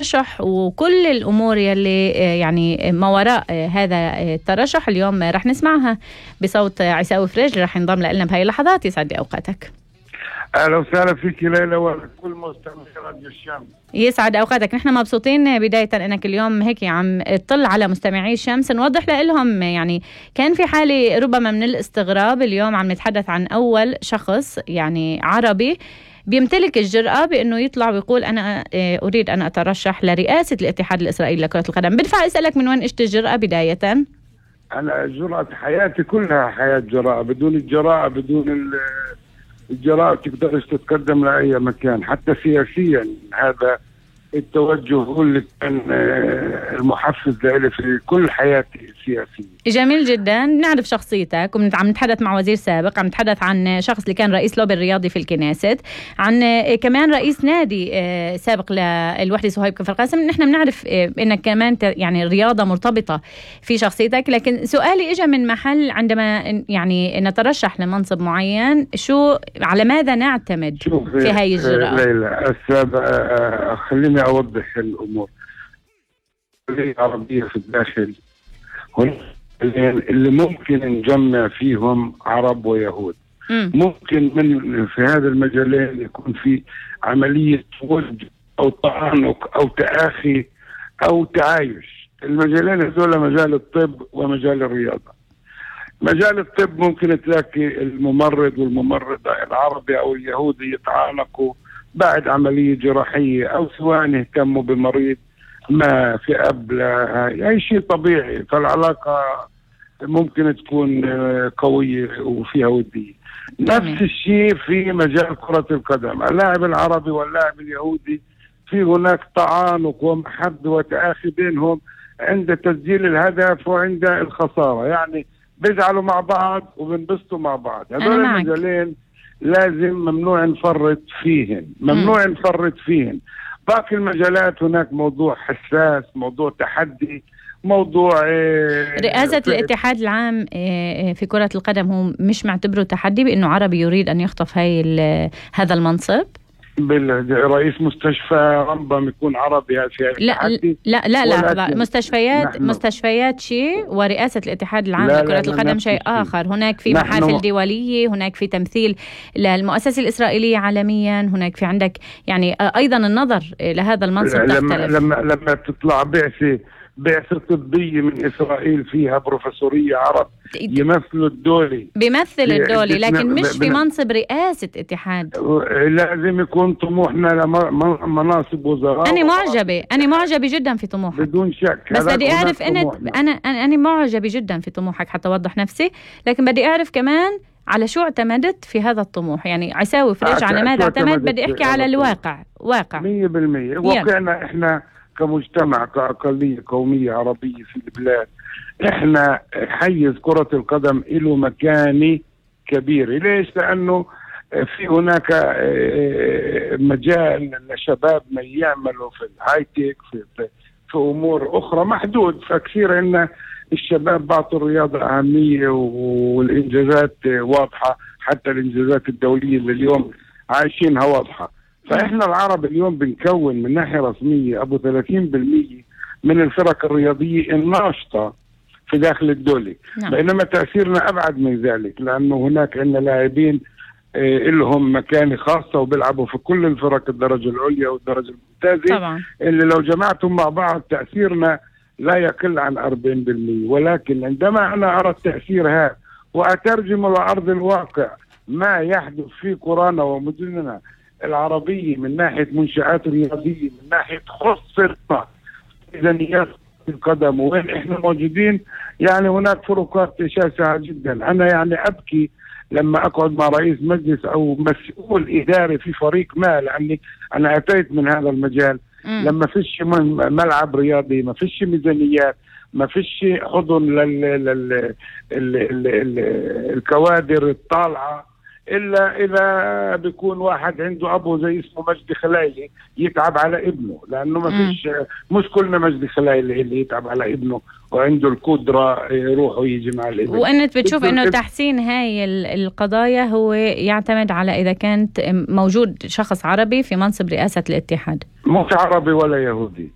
الترشح وكل الأمور يلي يعني ما وراء هذا الترشح. اليوم رح نسمعها بصوت عيساوي فريج رح ينضم لنا بهاي اللحظات. يسعد أوقاتك. أهلا وسهلا فيك ليلى وكل مستمعي راديو الشمس. يسعد أوقاتك. نحن مبسوطين بداية أنك اليوم هيك عم تطل على مستمعي الشمس. نوضح لهم يعني كان في حالة ربما من الاستغراب. اليوم عم نتحدث عن أول شخص يعني عربي بيمتلك الجرأة بأنه يطلع ويقول أنا أريد أن أترشح لرئاسة الاتحاد الإسرائيلي لكرة القدم. بدفع أسألك من وين إجت الجرأة بداية؟ أنا جرأة حياتي كلها حياة جراءة. بدون الجراءة بدون الجراءة تقدرش تتقدم لأي مكان حتى سياسيا. هذا التوجه هو اللي كان المحفز لي في كل حياتي السياسية. جميل جدا. نعرف شخصيتك وعم نتحدث مع وزير سابق، عم نتحدث عن شخص اللي كان رئيس لوبي الرياضي في الكنيست، عن كمان رئيس نادي سابق للوحدة صهيب كفر قاسم. نحن بنعرف انك كمان يعني الرياضة مرتبطة في شخصيتك، لكن سؤالي اجى من محل عندما يعني نترشح لمنصب معين شو على ماذا نعتمد في هاي الجرأة؟ ليلى خليني أوضح الأمور. العربية في الداخل اللي ممكن نجمع فيهم عرب ويهود. ممكن من في هذا المجالين يكون في عملية ود أو تعنق أو تآخي أو تعايش. المجالين هذول مجال الطب ومجال الرياضة. مجال الطب ممكن تلاقي الممرض والممرضة العربي أو اليهودي يتعانقوا بعد عملية جراحية أو سواء يهتموا بمريض ما في قبل أي شيء طبيعي، فالعلاقة ممكن تكون قوية وفيها ودية. نفس الشيء في مجال كرة القدم. اللاعب العربي واللاعب اليهودي في هناك تعانق ومحد وتآخي بينهم عند تسجيل الهدف وعند الخسارة، يعني بيزعلوا مع بعض وبنبسطوا مع بعض. هذول المجالين لازم ممنوع نفرط فيهن، ممنوع نفرط فيهن. باقي المجالات هناك موضوع حساس، موضوع تحدي، موضوع رئاسة الاتحاد العام في كرة القدم هو مش معتبره تحدي بأنه عربي يريد أن يخطف هذا المنصب؟ رئيس مستشفى رمبم يكون عربي هذا لا مستشفيات شيء ورئاسة الاتحاد العام لكرة القدم شيء آخر. هناك في محافل دولية، هناك في تمثيل للمؤسسة الإسرائيلية عالميا، هناك في عندك يعني أيضا النظر لهذا المنصب تختلف. لما تطلع بعثة طبية من إسرائيل فيها بروفيسورية عرب يمثلوا الدولي، بيمثل الدولي، لكن مش في منصب رئاسة اتحاد. لازم يكون طموحنا لمناصب وزراء. أنا معجبة جدا في طموحك بدون شك، بس بدي أعرف أنا معجبة جدا في طموحك حتى أوضح نفسي، لكن بدي أعرف كمان على شو اعتمدت في هذا الطموح. يعني عيساوي فريج على ماذا اعتمد؟ بدي أحكي على الواقع. 100% واقعنا إحنا كمجتمع كأقلية قومية عربية في البلاد. احنا حيز كرة القدم له مكاني كبير. ليش؟ لأنه في هناك مجال لشبابنا يعملوا في الهايتك في أمور أخرى محدود. فكثير إن الشباب بعطوا الرياضة أهمية والإنجازات واضحة، حتى الإنجازات الدولية اللي اليوم عايشينها واضحة. فإحنا العرب اليوم بنكون من ناحية رسمية أبو 30% من الفرق الرياضية الناشطة في داخل الدولة. بينما تأثيرنا أبعد من ذلك، لأنه هناك عندنا لاعبين لهم مكانة خاصة وبيلعبوا في كل الفرق الدرجة العليا والدرجة الممتازة طبعا. اللي لو جمعتهم مع بعض تأثيرنا لا يقل عن 40%. ولكن عندما أنا أرى التأثير هذا وأترجم لأرض الواقع ما يحدث في قرانا ومدننا العربية من ناحية منشآت رياضية، من ناحية خصة ميزانيات القدم وين احنا موجودين، يعني هناك فروقات شاسعة جدا. انا يعني ابكي لما اقعد مع رئيس مجلس او مسؤول اداري في فريق ما، لاني انا اتيت من هذا المجال. لما فيش ملعب رياضي، ما فيش ميزانيات، ما فيش حضن الكوادر الطالعة إلا إذا بيكون واحد عنده أبو زي اسمه مجدي خلايلي يتعب على ابنه، لأنه ما فيش مش كلنا مجدي خلايلي اللي يتعب على ابنه وعنده القدرة يروح ويجي مع الابن. وأنت بتشوف إنه تحسين هاي القضايا هو يعتمد على إذا كانت موجود شخص عربي في منصب رئاسة الاتحاد، مش عربي ولا يهودي.